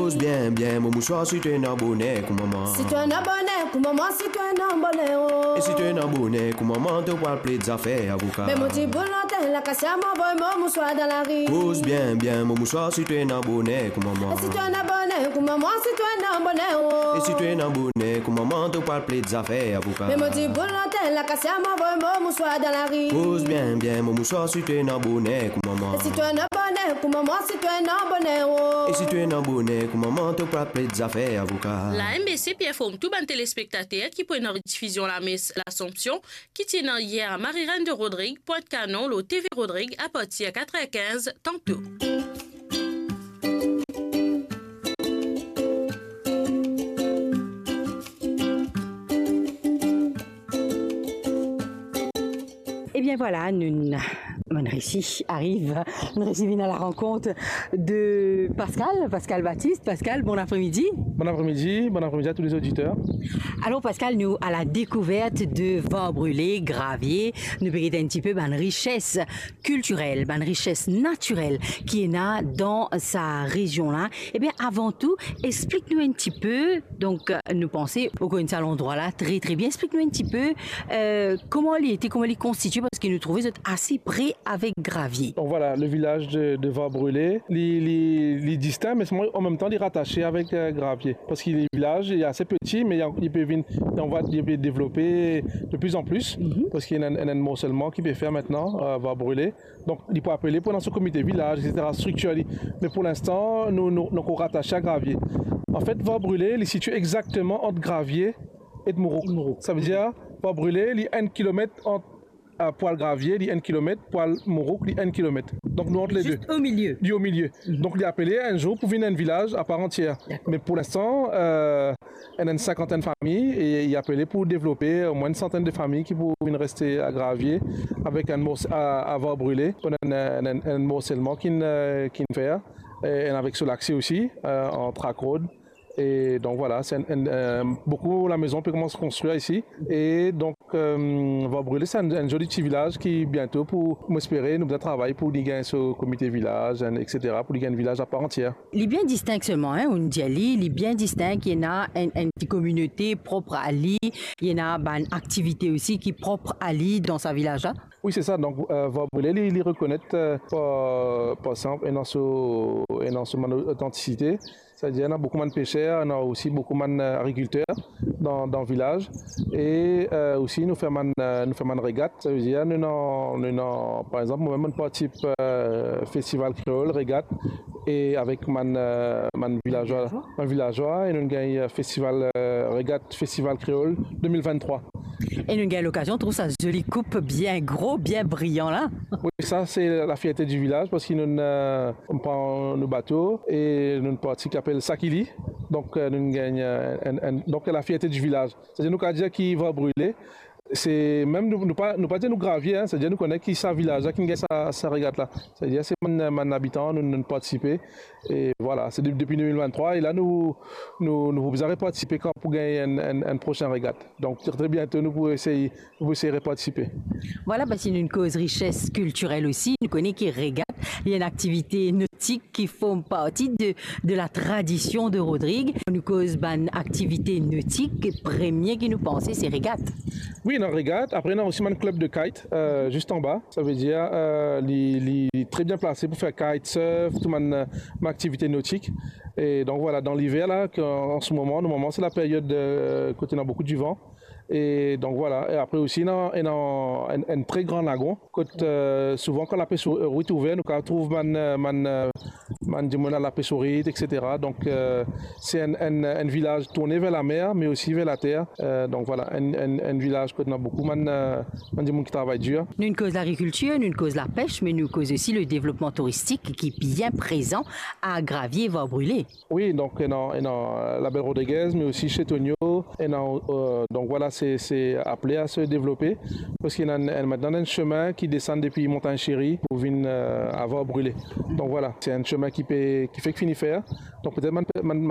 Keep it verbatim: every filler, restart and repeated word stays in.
Koz bien, bien, mo mouswar, si to ena boner kouma mwa. Si to ena boner kouma mwa, si to ena boner, oh. E si to ena boner kouma mwa, to pral pled zafer avoka. Me mo diboul anter lakasia, mo avoy mo mouswar dan lari. Koz bien, bien, mo mouswar, si to ena boner kouma mwa. E si to ena boner kouma mwa, si to ena boner, oh. E si to ena boner kouma mwa, to pral pled zafer avoka. Me mo diboul anter lakasia, mo avoy mo mouswar dan lari. Koz bien, bien, mo mouswar, si to ena boner kouma mwa. E si to ena boner kouma mwa, si to ena boner, oh. E si to ena boner kouma mwa, to pral pled zafer avoka. La M B C pe inform tou bann telespektater ki pou ena redifizion lames Lasanpsion ki ti ena yer a Marie-Reine de Rodrigues, Pointe-Canon, lor T V Rodrigues, apartir a quatre heures quinze tanto. Ebien vwala, nou, nou resi ariv, nou resi vinn a la rankont de Pascal, Pascal Baptiste. Pascal, bon apremidi. Bon apremidi, bon apremidi a tou lezoditer. Alor Pascal, nou a la dekouvert de Var Brile, Gravie, nou pe get enn tipe bann rises kiltirel, bann rises natirel ki ena dan sa rezion la. Ebien, avan tou, explik nou enn tipe, donk, nou panse ou konn sa landrwa la tre, tre bien. Explik nou enn tipe, eh, kouma li ete, kouma li konstitie, parski nou trouve zot ase pre avek Gravie. Donc voilà, le village de, de Var Brile, li, li, li distink, me selman an mem tan, li ratase avek, eh, Gravie. Parski le vilaz, li ase peti, me li, li pe vinn, li anvi, li pe devlope de plus en plus, parski ena, ena enn morselman ki pe fer aster, eh, Var Brile. Donk, li pou apele pou ena so komite vilaz, et cetera, striktir li. Me pou linstan, nou, nou, nou ankor ratase a Gravie. Anfet, Var Brile, li sitie exakteman ant Gravie e Mourouk. Mourouk. Savedir, Var Brile, li enn kilomet ant, eh, pou al Gravie, li enn kilomet, pou al Mourouk, li enn kilomet. Donk, nou ant le de. Zis o milie. Li o milie. Donk, li apele enn zour pou vinn enn vilaz a par antier. Dakor. Me pou linstan, eh, ena enn sinkantenn fami, e li apele pou devlope omwin enn santenn de fami ki pou vinn reste a Gravie, avek enn mors-, a, a Var Brile, pou enn, enn, enn, enn morselman ki'nn, eh, ki'nn fer, e, e avek so lakse osi, eh, an track road. E donk vwala, se enn, enn, eh, boukou lamezon pe koumans konstrir isi. E donk, eh, Var Brile, se enn, enn zoli ti vilaz ki biento pou, mo espere, nou bizin travay pou li gagn so komite vilaz, enn, et cetera, pou li gagn enn vilaz a par antier. Li bien distink selman, hein, ou'nn dir li, li bien distink, li ena enn, enn ti kominote prop a li, li ena bann aktivite osi ki prop a li dan sa vilaz la. Wi, se sa. Donk, eh, Var Brile, li, li rekonet, eh, par, par exanp, ena so, ena so bann otantisite. Savedir, ena boukou bann peser, ena osi boukou bann, eh, agrikilter dan, dan vilaz. E, eh, osi nou fer bann, eh, nou fer bann regat. Savedir, nou ena, nou ena, par exanp, mwa mem, mo partisip, eh, festival kreol, regat, e avek bann, eh, bann vilazwa, bann vilazwa, e nou gagn, eh, festival, eh, regat, festival kreol de mil venntrwa. E nou gagn lokazion trouv sa zoli koup bien gro, bien briyan la. Wi, sa se lafierte di vilaz, parski nou, eh, nou pran nou bato e nou parti ki apel Sakili. Donk, eh, nou gagn, eh, enn, enn, donk lafierte di vilaz. Savedir nou kapav dir ki Var Brile, se mem nou, nou pa, nou pa dir nou Gravie, hein, savedir nou kone ki sa vilaz la ki'nn gagn sa, sa regat la. Savedir se bann, bann abitan, nou, nou partisipe. E vwala, se de-, depi de mil venntrwa, e la nou, nou, nou pou bizin repartisipe kan pou gagn enn, enn, enn prosin regat. Donk, tre, tre biento, nou pou esey, nou pou esey repartisipe. Vwala, parski nou'nn koz rises kiltirel osi, nou kone ki regat, li enn aktivite notik ki form parti de, de la tradision de Rodrig. Nou koz bann aktivite notik, premie ki nou panse, se regat. Wi, ena regat. Apre, ena osi bann klub de kite, eh, zis anba. Savedir, eh, li, li tre bien plase pou fer kitesurf, tou bann, eh, bann aktivite notik. E donk, vwala, dan liver la, ke, an se moman, normalman, se la period, eh, kot ena boukou divan. E donk, vwala. E apre osi, ena, ena enn, enn tre gran lagon, kot, eh, souvan, kan lapes ourit ouver, nou kapav trouv bann, eh, bann, eh, bann dimoun al lapes ourit, et cetera. Donk, eh, se enn, enn, enn vilaz tourne ver lamer, me osi ver later. Eh, donk, vwala, enn, enn, enn vilaz kot ena boukou bann, eh, bann dimoun ki travay dir. Nou'nn koz lagrikiltir, nou'nn koz lapes, me nou koz osi le devlopman touristik ki bien prezan a Gravie, Var Brile. Wi, donk, ena, ena, eh, Label Rodriguez, me osi Chetonio, ena, eh, donk, vwala, se, se apele a se devlope, parski ena enn, enn, aster ena enn semin ki desann depi Montagn Seri pou vinn, eh, a Var Brile. Donk, vwala, se enn semin ki pe, ki fek fini fer. Donk, petet bann, bann, bann